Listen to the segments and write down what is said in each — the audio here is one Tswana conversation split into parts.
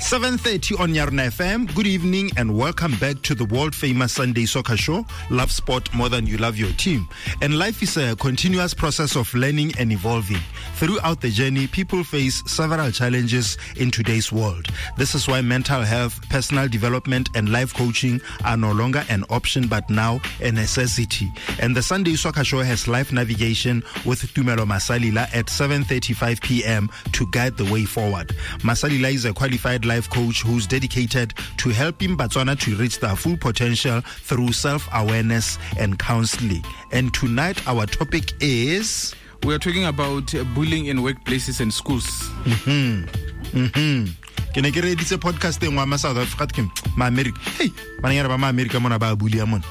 7:30 on Yarona FM. Good evening and welcome back to the world famous Sunday Soccer Show. Love sport more than you love your team. And life is a continuous process of learning and evolving. Throughout the journey, people face several challenges in today's world. This is why mental health, personal development and life coaching are no longer an option but now a necessity. And the Sunday Soccer Show has life navigation with Tumelo Masalila at 7:35 p.m. to guide the way forward. Masalila is a qualified life coach who's dedicated to helping Botswana to reach their full potential through self-awareness and counseling. And tonight our topic is... We are talking about bullying in workplaces and schools. Ke ne ke reeditse podcast e nngwe ya ma South Africa ke ma America. Hey, bananyana ba ma America mona ba bulia mona.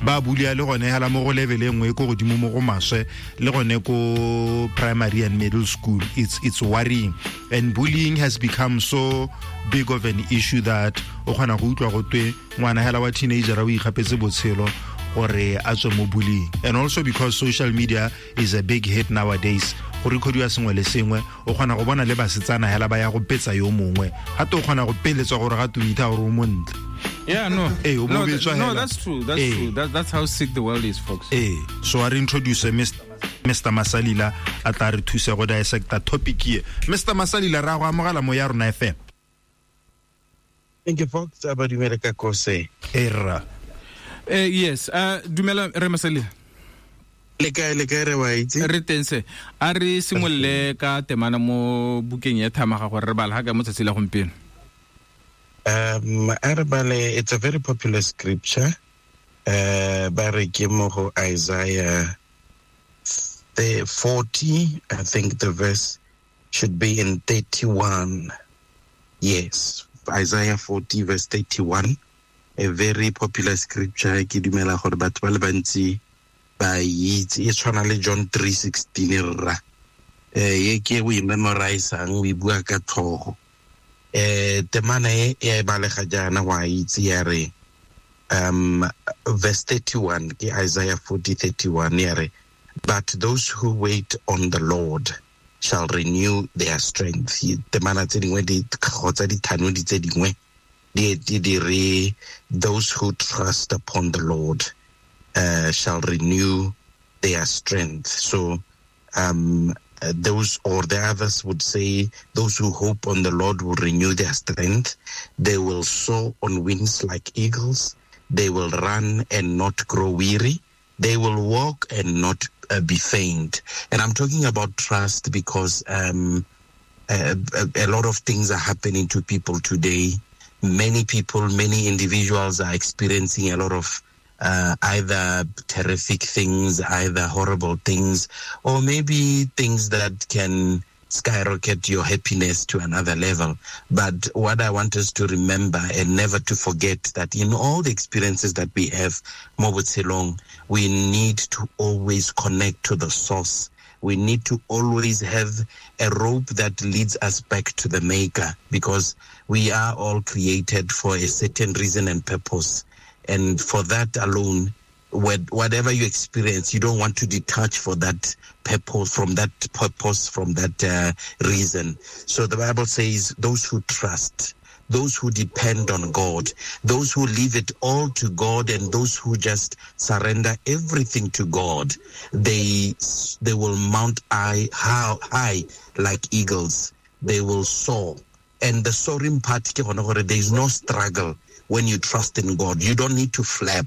Ba bulia le gone hala mo go level e nngwe ko godimo mo go maswe le gone ko primary and middle school. It's worrying. And bullying has become so big of an issue that o kgona go utlwa go twe ngwana hela wa teenager o ikgapetse botshelo gore a tswe mo bullying. And also because social media is a big hit nowadays, go recordwa sengwe le sengwe, o kgona go bona le basetsana hela ba ya go petsa yo mongwe, gape o kgona go peletswa gore gape o itha gore o montle. Yeah, no. Hey, o No, bobetswa no, hela. that's true. That's Hey. true. That's how sick the world is, folks. Hey. So I introduce Mister Masalila a tla re thusa go dissecta topic e. Mister Masalila, ra go amogela mo ya rona FM. Thank you, folks. Aba dumela ka kose. Erra. Yes, dumela re Masalila. Le kae, le kae re wa itse? Re teng se. A re simolole ka temana mo bukeng ya Thamaga gore re bala ga ka mo tsatsi la gompieno. A re bale, it's a very popular scripture. Ba re ke mo go Isaiah 40, I think the verse should be in 31. Yes, Isaiah 40 verse 31. A very popular scripture. Ke dumela gore batho ba le bantsi ba itse. E tshwana le John 3:16 rra. Ye ke o e memorizang, o e bua ka tlhogo. Temana e, e a e balega jaana, wa itse, ya re, verse 31, ke Isaiah 40:31, ya re, but those who wait on the Lord shall renew their strength. Temana tse dingwe di, kgotsa dithanodi tse dingwe, di, di, di re, those who trust upon the Lord shall renew their strength. So those or the others would say, those who hope on the Lord will renew their strength. They will soar on wings like eagles. They will run and not grow weary. They will walk and not be faint. And I'm talking about trust because a lot of things are happening to people today. Many people, many individuals are experiencing a lot of either terrific things, either horrible things, or maybe things that can skyrocket your happiness to another level. But what I want us to remember and never to forget that in all the experiences that we have, mo botshelong, we need to always connect to the source. We need to always have a rope that leads us back to the maker, because we are all created for a certain reason and purpose. And for that alone, whatever you experience, you don't want to detach for that purpose, from that purpose, from that reason. So the Bible says those who trust, those who depend on God, those who leave it all to God, and those who just surrender everything to God, they will mount high like eagles. They will soar. And the soaring part, ke gone gore there is no struggle when you trust in God. You don't need to flap.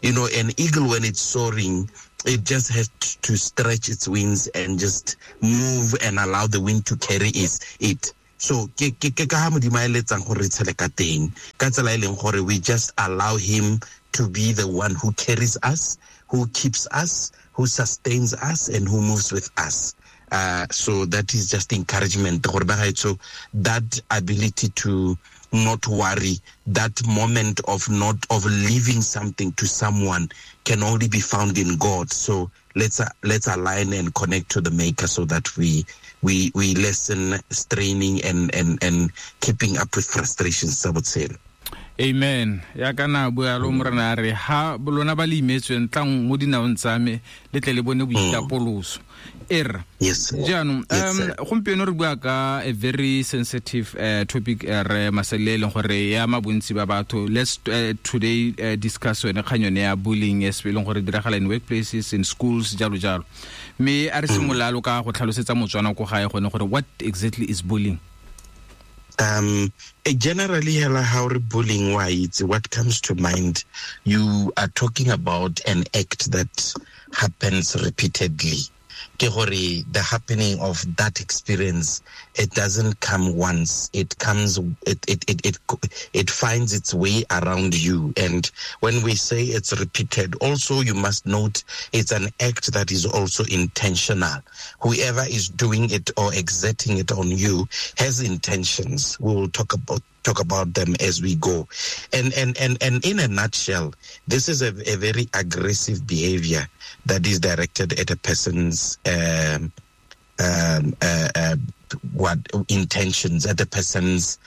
An eagle, when it's soaring, it just has to stretch its wings and just move and allow the wind to carry it. So, ke, ke, ke ka ha Modimo a eletsang gore re tshele ka teng. Ka tsela e leng gore we just allow him to be the one who carries us, who keeps us, who sustains us, and who moves with us. So that is just encouragement. Gore ba gaetsho, that ability to not worry, that moment of not, of leaving something to someone can only be found in God. So let's align and connect to the maker so that we lessen straining and keeping up with frustrations, I would say. Amen. Ya kana bua lo morena re ha lona ba le imetsweng tlang mo dinaong tsa me le tle le bone boitapoloso. Er. Yes. Jaanong gompieno re bua ka a very sensitive topic re masele e leng gore ya ma bontsi ba batho. Let's today discuss yone kgang yone ya bullying e leng gore diragala in workplaces, in schools, jalo jalo. Mme a re simolola lo ka go tlhalosetsa Motswana ko gae gone gore what exactly is bullying? Generally, how bullying wise, what comes to mind, you are talking about an act that happens repeatedly. Ke gore the happening of that experience, it doesn't come once. It comes, it finds its way around you. And when we say it's repeated, also you must note it's an act that is also intentional. Whoever is doing it or exerting it on you has intentions. We will talk about them as we go. And in a nutshell, this is a very aggressive behavior that is directed at a person's what intentions, at a person's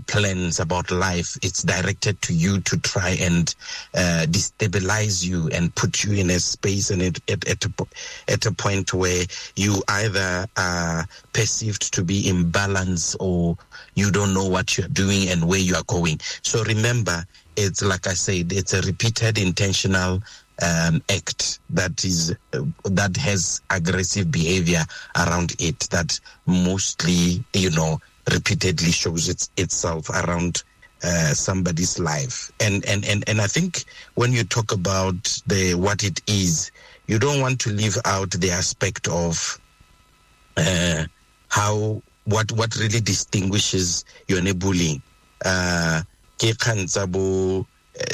plans about life. It's directed to you to try and destabilize you and put you in a space and at a point where you either are perceived to be imbalanced or you don't know what you're doing and where you are going. So remember, it's like I said, it's a repeated intentional act that is that has aggressive behavior around it, that mostly, you know, repeatedly shows itself around somebody's life. And I think when you talk about the what it is, you don't want to leave out the aspect of how what really distinguishes yone bullying. Ke kgang tsa bo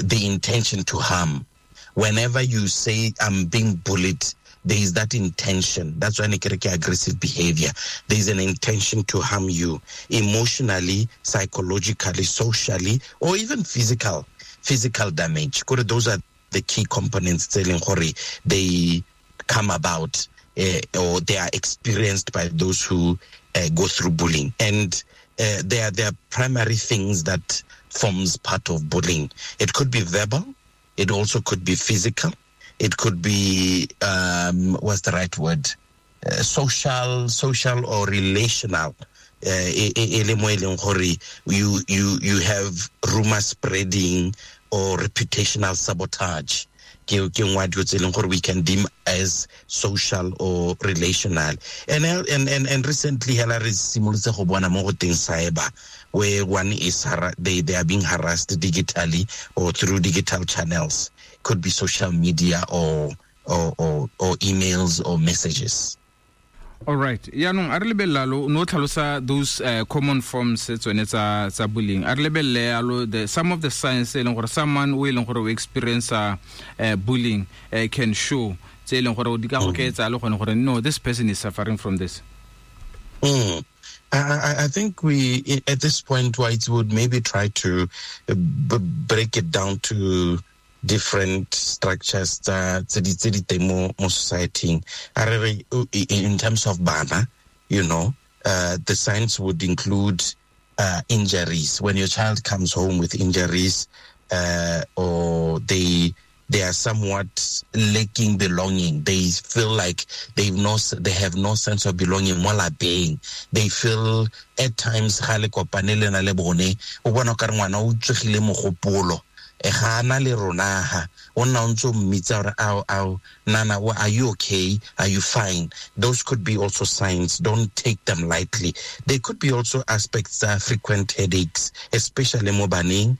the intention to harm. Whenever you say I'm being bullied, there is that intention. That's why ke re ke aggressive behavior. There is an intention to harm you emotionally, psychologically, socially, or even physical damage. Kore those are the key components tse leng gore they come about or they are experienced by those who go through bullying. And they are primary things that forms part of bullying. It could be verbal. It also could be physical. It could be, what's the right word? Social or relational. You have rumor spreading or reputational sabotage. We can deem as social or relational. And recently, hela re simolotse go bona mo go teng cyber, where one is they are being harassed digitally or through digital channels. Could be social media or emails or messages. All right. Yaanong a re lebella lo no tlhalosa those common forms tsone tsa bullying. A re lebelle alo the some of the signs e leng gore someone o e leng gore o experience bullying can show tse e leng gore di ka go ketsa le gone gore no, this person is suffering from this. I think we at this point White would maybe try to break it down to different structures tse di teng mo society. In terms of bana, you know, the signs would include injuries. When your child comes home with injuries, or they are somewhat lacking belonging. They feel like they have no sense of belonging mo lapeng. They feel at times ga le kopane le na le bone, o bona o ka re ngwana o tsogile mogopolo. Ga ana le rona ha o nna o ntse o mmitsa gore ao nana, are you okay? Are you fine? Those could be also signs. Don't take them lightly. There could be also aspects of frequent headaches, especially mo baneng.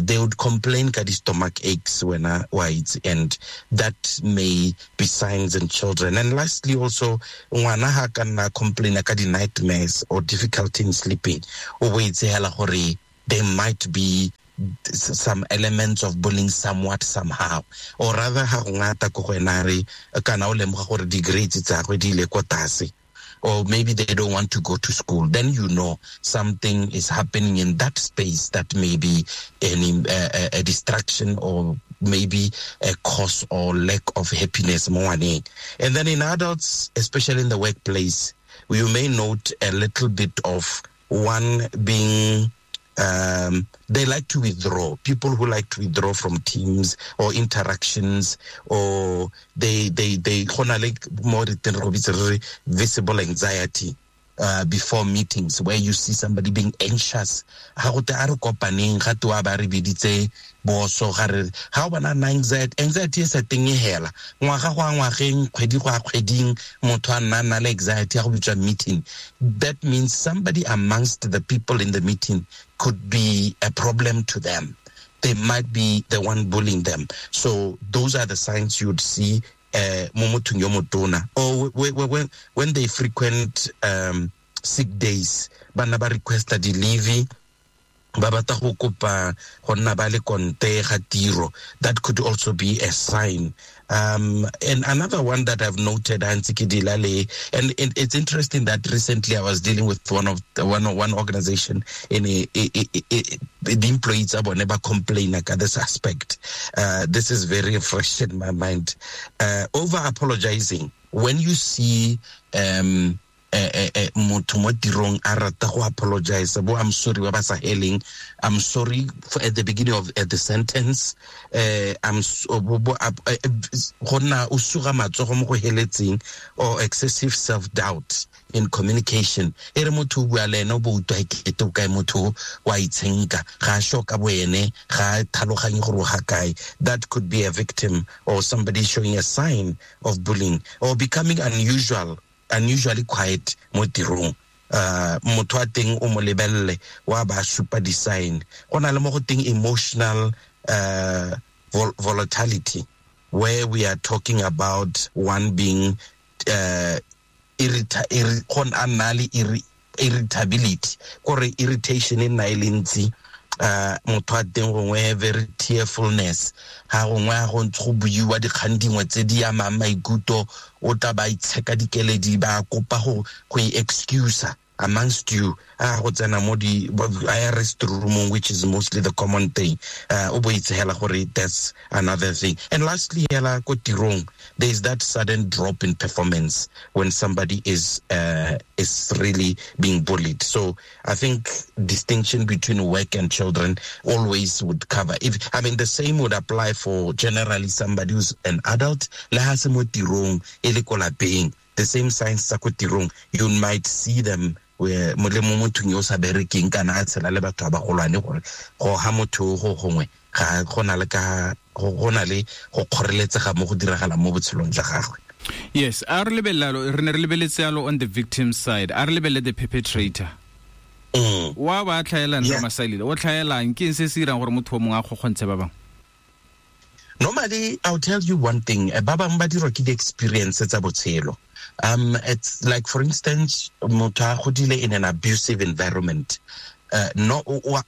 They would complain ka di stomach aches when white, and that may be signs in children. And lastly, also ngwana ha ka nna complain ka di nightmares or difficulty in sleeping, o bo itse hela gore there might be some elements of bullying somewhat somehow, or rather ha go ngata ko go ena re kana o lemoga gore di grades tsa gagwe di ile ko tlase, or maybe they don't want to go to school, then you know something is happening in that space that may be a distraction or maybe a cause or lack of happiness mo ngwaneng. And then in adults, especially in the workplace, you may note a little bit of one being They like to withdraw. People who like to withdraw from teams or interactions, or they go na le mo re teng re go bitse re re visible anxiety before meetings, where you see somebody being anxious. Ha go te a re kopaneng, ga te wa ba re biditse boso, ga re ga o bona na anxiety e sa teng e hela ngwaga go a ngwageng, kgwedi go a kgweding, motho a nna na le anxiety ya go bitswa meeting. That means somebody amongst the people in the meeting could be a problem to them. They might be the one bullying them. So those are the signs you'd see mo mothong yo motona. Or when they frequent sick days, bana ba requesta di-leave, ba batla go kopa go nna ba le konte ga tiro. That could also be a sign. And another one that I've noted, and it's interesting that recently I was dealing with one organization in the employees about never complain about this aspect. This is very fresh in my mind. Over apologizing. When you see motho mo tirong a rata go apologize, bo I'm sorry ba ba sa heleng, I'm sorry for at the beginning of at the sentence, I'm go nna o suga matsogo mo go heletseng, or excessive self doubt in communication. E re motho o bua le ene o bo utlwa ekete o kae motho wa itshenka, ga a sure ka bo ene, ga a tlhaloganye gore o ga kae. That could be a victim or somebody showing a sign of bullying, or becoming unusually quiet mo tirong. Motho a teng o mo lebelele wa ba supa di-sign. Go na le mo go teng emotional volatility, where we are talking about one being irritability, kore irritation e nna e le ntsi. Motho a teng gongwe very tearfulness, ha gongwe go ntse go buiwa dikgang dingwe tse di amang maikutlo, o tla ba itsheka dikeledi, ba kopa go i-excuse amongst you. A go tsena mo di a restroom, which is mostly the common thing. O bo itse hela gore that's another thing. And lastly, hela ko tirong, there is that sudden drop in performance when somebody is really being bullied. So I think distinction between work and children always would cover. If I mean, the same would apply for generally somebody who's an adult, le ha se mo tirong e le ko lapeng, the same signs tsa ko tirong, you might see them where mo le mo mothong yo o sa berekeng kana a tshela le batho ba bagolwane, gore go ha motho go gongwe ga go na le ka go na le go kgoreletsega mo go diragalang mo botshelong jwa gagwe. Yes, a re lebelelo, re ne re lebeletse yalo on the victim side, a re lebelele the perpetrator. Wa ba tlhaelang re Masalile, o tlhaelang ke eng se se dirang gore motho o mongwe a kgokgontshe ba bangwe? Normally, I'll tell you one thing. Ba bangwe ba dirwa ke di-experience tsa botshelo. It's like, for instance, motho a godile in an abusive environment. No, o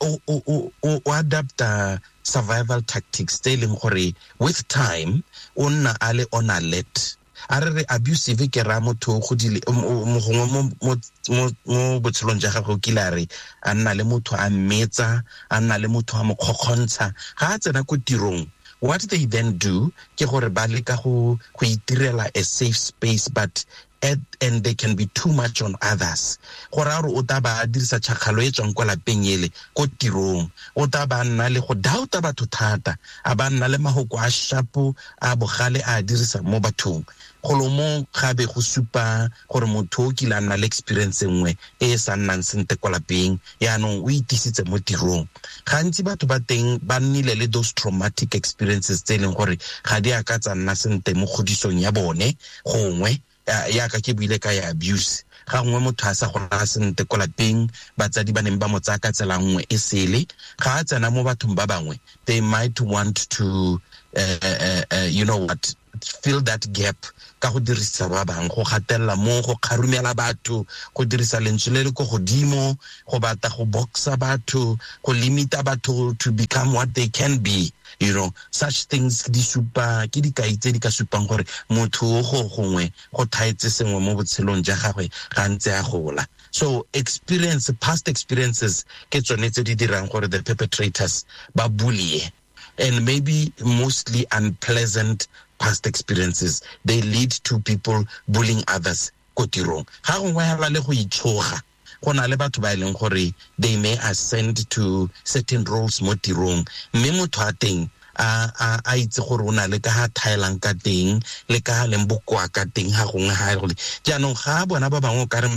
adapta survival tactics tse e leng gore with time o nna a le on alert. A re re abusive ke ra motho o godile gongwe mo botshelong jwa gagwe o kile a re a nna le motho a mmetsa, a nna le motho a mo kgokgontsha. Ga a tsena ko tirong, what they then do ke gore ba leka go itirela a safe space, but and they can be too much on others. Gore a re o tla ba dirisa tšhakgalo e tswang kwa lapeng ele ko tirong, o tla ba nna le go doubta batho thata, a ba nna le mahoko a shapo a bogale a dirisa mo bathong. Golo mo gabe go supa gore motho o kile a nna le experience nngwe e e sa nnang sentle kwa lapeng, yaanong o itisitse mo tirong. Gantsi batho ba teng ba nnile le those traumatic experiences tse e leng gore ga di a ka tsa nna sentle mo kgodisong ya bone, gongwe yaka ke buile ka ya abuse. Ga gongwe motho a sa gola sentle ko lapeng, batsadi ba neng ba mo tsaya ka tsela nngwe e sele, ga a tsena mo bathong ba bangwe, they might want to you know what, fill that gap ka go dirisa ba bangwe, go gatelela mo, go kgarumela batho, go dirisa lentswe le le ko godimo, go batla go boxa batho, go limita batho to become what they can be. You know, such things di supa ke dikai tse di ka supang gore motho o go gongwe go thaetse sengwe mo botshelong jwa gagwe ga ntse a gola. So experience, past experiences ke tsone tse di dirang gore the perpetrators ba bully, and maybe mostly unpleasant past experiences, they lead to people bullying others ko tirong. Ga gongwe hela le go itshoga, Go na le batho ba e leng gore they may ascend to certain roles mo tirong, mme motho a teng a itse gore o na le ka ha thaelang ka teng le ka leng bokoa ka teng ha gongwe ha go jaanong ga bona ba bangwe o ka re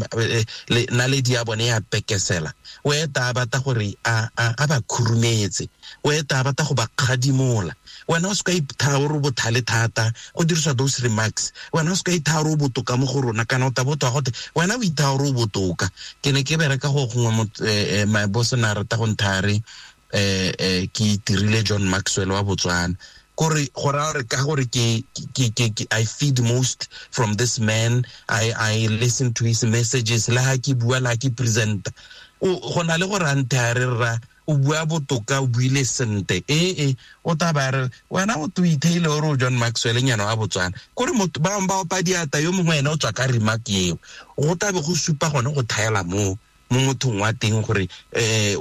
naledi ya bone ya pekesela, o eta a batla gore a ba khurumetse, o eta a batla go ba kgadimola. Wena o se ka ithaa o re bothale thata go dirisa those remarks, wena o se ka ithaa o botoka mo go rona, kana o ta botwa gote wena o ithaa o botoka. Ke ne ke bereka go gongwe, my boss na rata go nthare ke dirile John Maxwell wa Botswana, kore go ra re ka gore ke I feed most from this man, I listen to his messages, le ha ke bua, le ha ke present, go na le gore a nthare ra o bua botoka, o buile sente, o ta ba re wena o to itheile o re John Maxwell nyana wa Botswana, kore motho ba ba opa diata yo mongwe ene o tswa ka remark eo, go ta be go supa gone go thaela mo mothong wa teng gore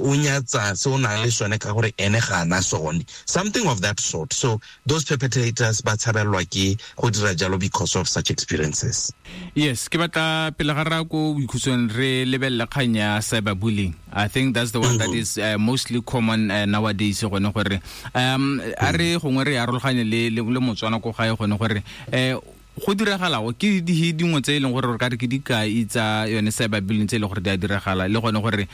o nyatsa se o nang le sone ka gore ene ga ana sone, something of that sort. So those perpetrators ba tshabelwa ke go dira jalo because of such experiences. Yes, ke batla pele ga ra ko boikhutsong re lebelle kgang ya cyberbullying. I think that's the one that is mostly common nowadays gone gore a re gongwe re arologanye le Motswana ko gae gone gore go diragala go ke di dingwe tse e leng gore re ka re ke dikai tsa yone cyberbullying tse e leng gore di a diragala, le gone gore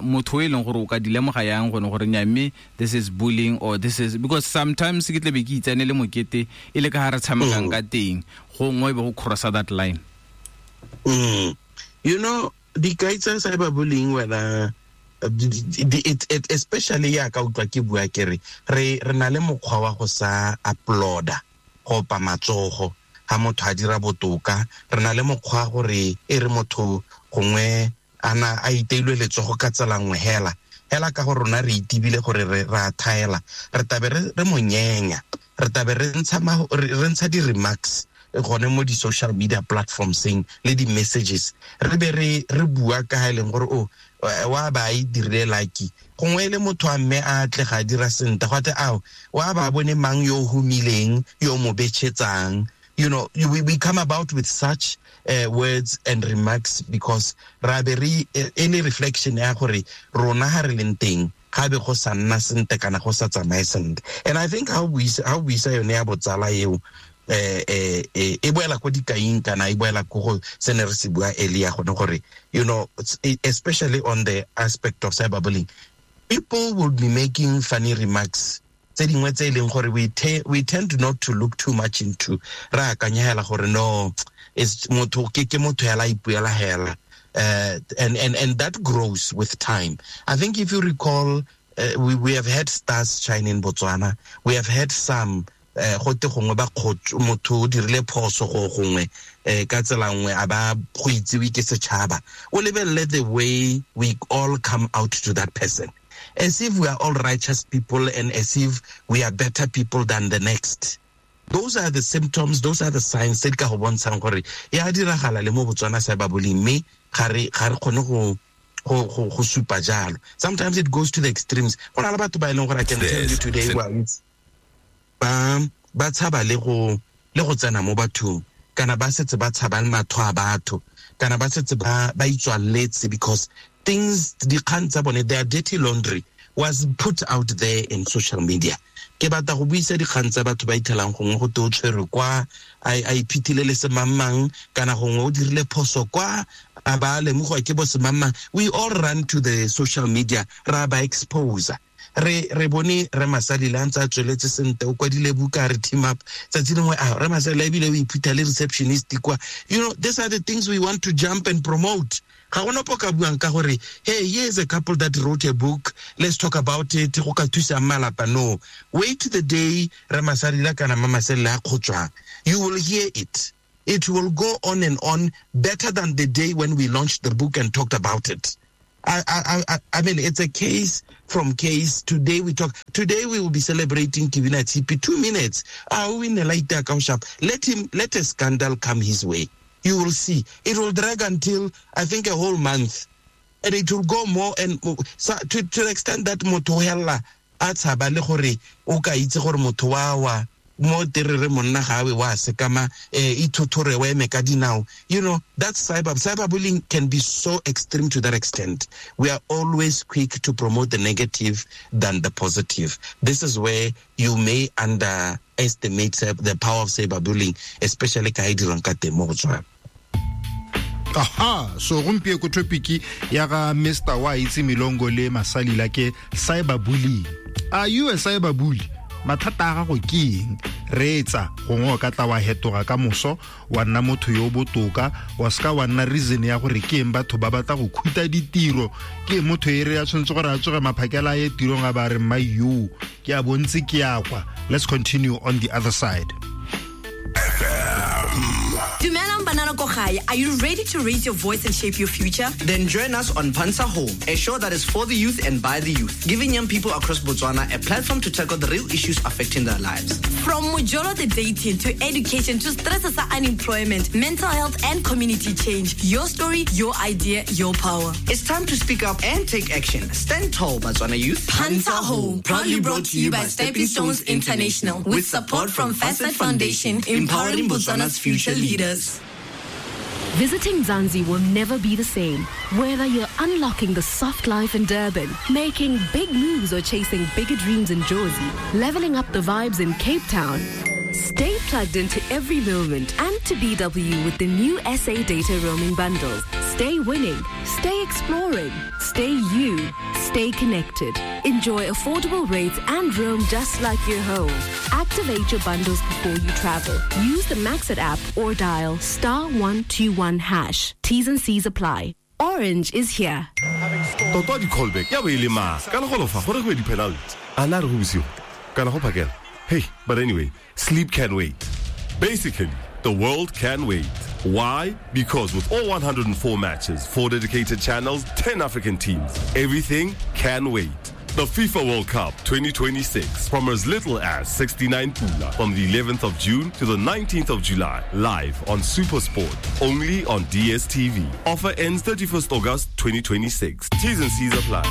motho e leng gore o ka di lemoga yang gone gore nya mme this is bullying or this is, because sometimes ke tlebe ke itsane le mokete e le ka ha re tshamekang ka teng gongwe e be go crossa that line. You know, dikai tsa cyberbullying wena it especially ya ka utlwa ke bua ke re re na le mokgwa wa go sa uploada go opa matsogo ha motho a dira botoka, re na le mokgwa gore e re motho gongwe ana a iteilwe letsogo ka tsela nngwe hela hela ka gore rona re itibile gore re ra thaela, re tabe re monyenya, re tabe re ntsha di-remarks gone mo di-social media platformseng le di-messages, re be re bua ka ha e leng gore o wa ba e dirile lucky, gongwe e le motho a mme a tle ga dira sentle, go ate ao wa ba bone mang yo humileng yo mo betšhetsang. You know, we come about with such words and remarks because ra be re any reflection ya gore rona ha re leng teng ga be go sa nna sentle kana go sa tsamaye sentle. And I think how we sa yone ya botsala eo e boela ko dikaing kana e boela ko go se ne re se bua earlier gone gore, you know, especially on the aspect of cyberbullying, people will be making funny remarks tse dingwe tse e leng gore we tend not to look too much into, ra akanya hela gore no, is motho ke motho hela ipuela hela, and that grows with time. I think if you recall, we have had stars shine in Botswana, we have had some go te gongwe ba motho o dirile phoso go gongwe ka tsela nngwe a ba go itsewe ke setšhaba, o lebelele the way we all come out to that person as if we are all righteous people and as if we are better people than the next. Those are the symptoms, those are the signs tse di ka go bontshang gore ya diragala le mo Botswana cyberbullying, mme ga re kgone go supa jalo. Sometimes it goes to the extremes. Go na le batho ba e leng gore I can tell you today ba tshaba le go tsena mo bathong, kana ba setse ba tshaba le matho a batho, kana ba setse ba itswaletse because things dikgang tsa bone, their dirty laundry was put out there in social media. Ke batla go buisa dikgang tsa batho ba ithelang gongwe go te o tshwerwe kwa a iphithile le semangmang, kana gongwe o dirile phoso kwa a ba lemogwa ke bo semangmang. We all run to the social media ra ba expose. Re bone re Masalile a ntse a tsweletse sentle, o kwadile buka re team up tsatsi lengwe a re Masalile ebile o iphutha le receptionist kwa. You know, these are the things we want to jump and promote. Ga gona po ka buang ka gore hey, here's a couple that wrote a book, let's talk about it, go ka thusa malapa. No, wait the day re Masalile kana Mamasalile a kgotswang, you will hear it. It will go on and on better than the day when we launched the book and talked about it. I mean, it's a case from case. Today we talk. Today we will be celebrating Kibina Tipi. 2 minutes. Let a scandal come his way. You will see. It will drag until, I think, a whole month. And it will go more and more. So, to the extent that motho hela a tshaba le gore o ka itse gore motho wa Mo terere monna ga we wa sekama ithothore wa eme ka dinao. You know, that's cyberbullying can be so extreme to that extent. We are always quick to promote the negative than the positive. This is where you may underestimate the power of cyberbullying, especially ka e dirwang ka teng mo go tswana. Aha, so gompieno ko topic ya ga Mr. Wa itse Milongo le Masalila ke cyberbullying. Are you a cyberbully? Mathata a gago ke eng? Reetsa, gongwe o ka tla wa hetoga ka moso wa nna motho yo o botoka, wa seka wa nna reason ya gore ke eng batho ba batla go khuta ditiro. Ke eng motho e re a tshwanetse gore a tsoge maphakela a ye tirong a ba re mma yo ke a bontse ke ya kwa. Let's continue on the other side. Dumelang banana ko gae. Are you ready to raise your voice and shape your future? Then join us on Pansa Home, a show that is for the youth and by the youth, giving young people across Botswana a platform to tackle the real issues affecting their lives. From Mojolo the dating to education to stress sa unemployment, mental health and community change. Your story, your idea, your power. It's time to speak up and take action. Stand tall, Botswana youth. Pansa Home, proudly brought to you by Stepping Stones International, with support from Facet Foundation, empowering Botswana's future leaders. Visiting Mzansi will never be the same. Whether you're unlocking the soft life in Durban, making big moves or chasing bigger dreams in Jozi, leveling up the vibes in Cape Town, stay plugged into every moment and to BW with the new SA data roaming bundles. Stay winning, stay exploring, stay you, stay connected. Enjoy affordable rates and roam just like you're home. Activate your bundles before you travel. Use the Maxit app or dial *121#. T's and C's apply. Orange is here. Toto di callback ya bo e le mang ka legolofa gore go di penalty a na re go bosigo kana go phakela. Hey, but anyway, sleep can wait. Basically, the world can wait. Why? Because with all 104 matches, 4 dedicated channels, 10 African teams, everything can wait. The FIFA World Cup 2026 from as little as 69 pula from the 11th of June to the 19th of July, live on SuperSport, only on DSTV. Offer ends 31st August 2026. T's and C's apply.